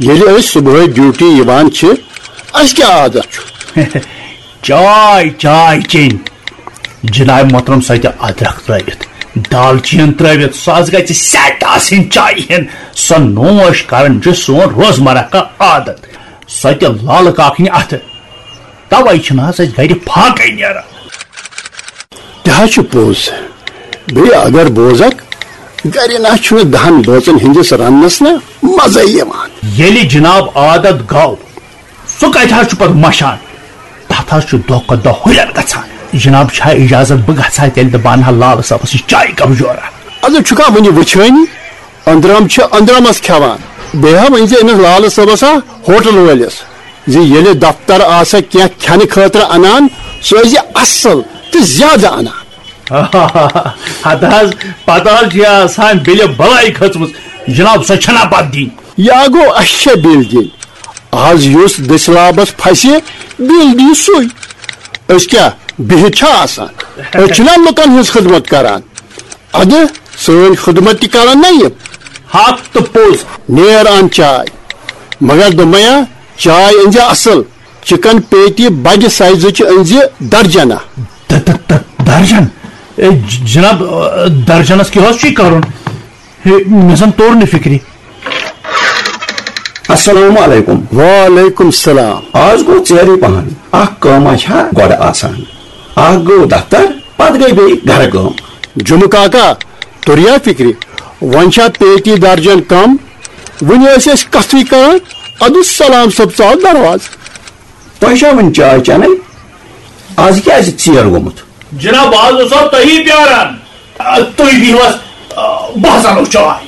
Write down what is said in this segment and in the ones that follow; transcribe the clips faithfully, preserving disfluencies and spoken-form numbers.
ییٚلہِ أسۍ صبحٲے ڈیوٹی یِوان چھِ، اَسہِ کیٛاہ عادت چھُ؟ چاے، چاے چیٚنۍ۔ جناب محترم، سۄ تہِ ادرکھ ترٲوِتھ، دالچیٖن ترٲوِتھ، سۄ حظ گژھِ سیٹ آسٕنۍ چایہِ ہِن۔ سۄ نوش کرٕنۍ چھُ سون روزمرہ کا عادت۔ سۄ تہِ لالہٕ کاکنہِ اتھٕ۔ توے چھِنہٕ حظ اَسہِ گرِ فاقے نیران۔ تہِ حظ چھُ پوٚز۔ بیٚیہِ اگر بوزکھ، گرِ نہ چھُنہٕ دہن بٲژن ہٕنٛدِس رننس نہ مزے یِوان۔ ییٚلہِ جناب عادت گوٚو، سُہ کتہِ حظ چھُ پتہٕ مشان؟ تتھ حظ چھُ دۄہ کھۄتہٕ دۄہ ہُرٮ۪ر گژھان۔ جناب، چھا اجازت بہٕ گژھٕ ہا تیٚلہِ تہٕ بہٕ انہٕ ہا لال صٲبس نِش چایہِ کپ جورا؟ ادٕ چھُکھا وُنہِ وٕچھٲنی؟ أنٛدرم چھِ أنٛدرمس کھٮ۪وان۔ بیٚیہِ ہا ؤنۍ زِ أمِس لالہٕ صٲبس ہا ہوٹل وٲلِس زِ ییٚلہِ دفتر آسہ کینٛہہ کھٮ۪نہٕ خٲطرٕ انان، سُہ ٲسۍ زِ اصل تہٕ زیادٕ انان۔ ہتہٕ حظ، پتہٕ حظ چھِ آسان بِلہِ بلاے کھٔژمٕژ۔ جناب، سۄ چھنہ پتہٕ دِنۍ۔ یا گوٚو، اسہِ چھےٚ بِل دِنۍ۔ از یُس دٔسۍ لابس پھسہِ، بِل دِیہِ سُے۔ أسۍ کیٛاہ بِہِتھ چھا آسان؟ أسۍ چھِنہ لُکن ہٕنٛز خدمت کران۔ ادٕ سٲنۍ خدمت تہِ کرن نہ یِم۔ حق تہٕ پوٚز۔ نیر ان چاے۔ مگر دوٚپمَیا، چاے أنزِ اصل۔ چکن پیتی بجہِ سائزٕچ أنزِ درجنہ۔ د-، د-، د-، درجن؟ اے، ج-، جناب، آ، درجنس کیٛاہ حظ چھُے کرُن؟ ہے، مےٚ زن توٚر نہٕ فکرِ۔ السلام علیکم۔ وعلیکم السلام۔ آز گوٚو ژیرٕے پہن۔ اکھ کٲمہ چھا گۄڈٕ آسان۔ اکھ گوٚو دفتر، پتہٕ گٔے بیٚیہِ گرٕ کٲم۔ جمعہ کاکا، توٚریا فکرِ؟ وۄنۍ چھا پیتی درجن کم؟ وُنہِ ٲسۍ أسۍ کتھٕے کران، ادٕ سلام صٲب ژاو دروازٕ۔ تۄہہِ چھا وُنہِ چاے چٮ۪نٕے؟ از کیازِ ژیر گوٚمُت؟ جناب، بہٕ حظ اوسُس تۄہی پیاران۔ آ، تُہۍ دِیِو حظ، آ، بہٕ حظ اَنو چاے۔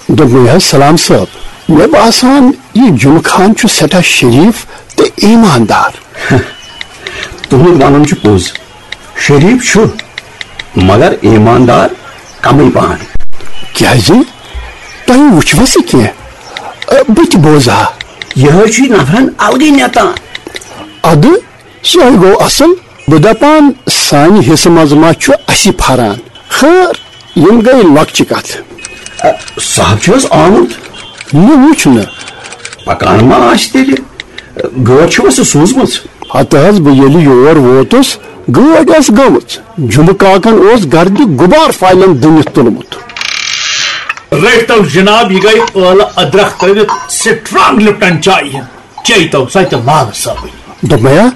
دوٚپمَے حظ، سلام صٲب، مےٚ باسان، یہِ جمعہ خان چھُ سٮ۪ٹھاہ شریٖف تہٕ ایٖماندار۔ تُہُنٛد وَنُن چھُ پوٚز۔ شریٖف چھُ، مگر ایٖماندار کمٕے پہن۔ کیٛازِ؟ تۄہہِ وُچھوٕ سُہ کینٛہہ؟ ٲ، بہٕ تہِ بوزٕ ہا۔ یہِ حظ چھُ نفرن الگٕے نٮ۪تان۔ ادٕ، سُہ ہے گوٚو اصل۔ بہٕ دپان، سانہِ حصہٕ منٛز ما چھُ اَسہِ پھران؟ خٲر، یِم گٔے لۄکچہِ کتھٕ۔ ا، صاحب چھُ حظ آمُت؟ مےٚ وُچھ نہٕ۔ پکان ما آسہِ تیٚلہِ؟ گٲڑۍ چھُوا سُہ سوٗزمٕژ؟ ہتہٕ حظ، بہٕ ییٚلہِ یور ووتُس، گٲڑۍ ٲس گٔمٕژ۔ جُمہٕ کاکن اوس گردِ غُبار فایلن دٕنِتھ تُلمُت۔ رٔٹۍ تو جناب، یہِ گٔے ٲلہٕ أدرکھ ترٲوِتھ سٹرانگ لپٹن چایہِ ہِنٛد۔ چیٚیہِ تو سۄ تہِ لال صٲبٕنۍ۔ دوٚپمَیا،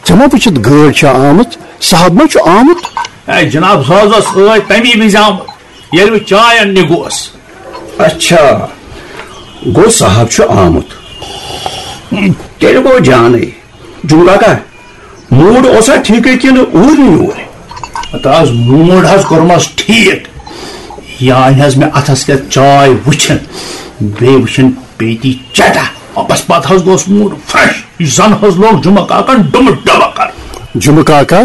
ژےٚ ما وٕچھِتھ گٲڑۍ چھےٚ آمٕژ؟ صاحب ما چھُ آمُت؟ اے جناب، سُہ حظ اوس ٲدۍ تَمی وِزِ آمُت، ییٚلہِ بہٕ چاے اَننہِ گوس۔ اچھا، گوٚو صاحب چھُ آمُت۔ تیٚلہِ گوٚو جانٕے۔ جُمہٕ کاکا، موٗڈ اوسا ٹھیٖکٕے کِنہٕ اوٗرۍ نہٕ یوٗرۍ؟ ہتہٕ حظ، موٗڈ حظ کوٚرمَس ٹھیٖک۔ یہِ آیہِ حظ مےٚ اَتھَس کٮ۪تھ چاے وٕچھِنۍ، بیٚیہِ وٕچھِنۍ پیتی چٹا۔ بس پتہٕ حظ گوٚوس موٗڈ فرٛٮ۪ش۔ یہِ زن حظ لوٚگ جُمہٕ کاکن ڈُمہٕ ڈبہٕ کرُن۔ جُمہٕ کاکا،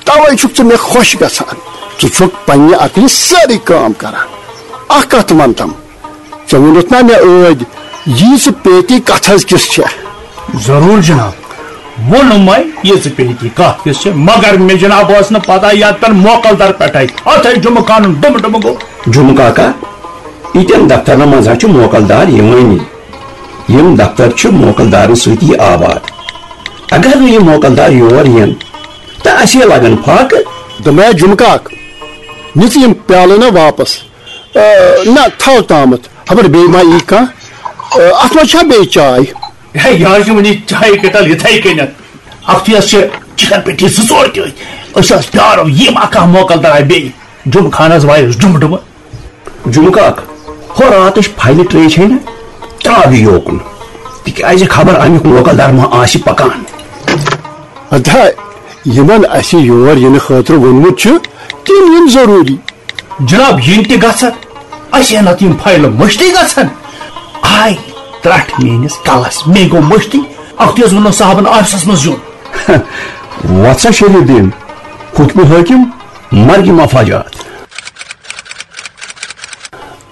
توے چھُکھ ژٕ مےٚ خۄش گژھان۔ ژٕ چھُکھ پننہِ عقلہِ سٲرٕے کٲم کران۔ اکھ کتھ ونتم، ژےٚ ووٚنُتھ نا مےٚ ٲدۍ، ییٖژٕ پیتی کتھ حظ کِژھ چھےٚ؟ ضروٗر جناب، ووٚنمے ییٖژٕ پیتی کتھ کِژھ چھےٚ، مگر مےٚ جناب ٲس نہٕ پتہ یتھ پٮ۪ٹھ موکل در پٮ۪ٹھے۔ اتھے جُمہٕ کانُن ڈُمہٕ ڈُمہٕ گوٚو۔ جُمہٕ کاکا، ییٚتٮ۪ن دفترن منٛز حظ چھُ موکل دار یِوٲنی۔ یِم دفتر چھِ موکل دارن سۭتی آباد۔ اگر نہٕ یِم موکل دار یور یِن، تہٕ اَسے لگن فاقہٕ۔ دوٚپمَے جُمہٕ کاک، نِژ یِم پیالہٕ نہ واپس۔ آ، نہ، تھاو تامَتھ، خبر بیٚیہِ ما یی کانٛہہ۔ آ، اَتھ منٛز چھا بیٚیہِ چاے؟ ہے، یہِ حظ چھِ وٕنہِ چایہِ کٔٹل یِتھَے کٔنٮ۪تھ۔ اَکھتُے حظ چھِ چِکن پیٹی زٕ ژور تہِ أتھۍ۔ أسۍ حظ پیارو، یِیہِ ما کانٛہہ موکل دار بیٚیہِ۔ جُمہٕ خانَس وایَس ڈُمہٕ ڈُمہٕ۔ جُمہٕ کاک، ہۄ راتٕچ فایلہِ ٹرٛے چھے نہ؟ ترٛاو یہِ یوکُن، تِکیٛازِ خبر اَمیُک موکل دار ما آسہِ پکان۔ ادا، یِمن اَسہِ یور یِنہٕ خٲطرٕ ووٚنمُت چھُ، تِم یِن ضروٗری۔ جناب، یِن تہِ گژھن، اَسہِ ہے نتہٕ یِم فایلہٕ مٔشتٕے گژھن۔ آے ترٛٹھ میٲنِس کلس، مے گوٚو مٔشتٕے۔ اکھتُے حظ ووٚنُن صاحبن آفسس منٛز یُن۔ وۄتھ سا شریف دین، حُکمِ حٲکِم، مرگہِ مفاجات۔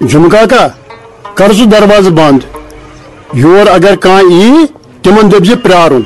جُمہٕ کاکا، کر سُہ دروازٕ بنٛد۔ یور اگر کانٛہہ یی، تِمن دٔپۍ زِ پرٛارُن۔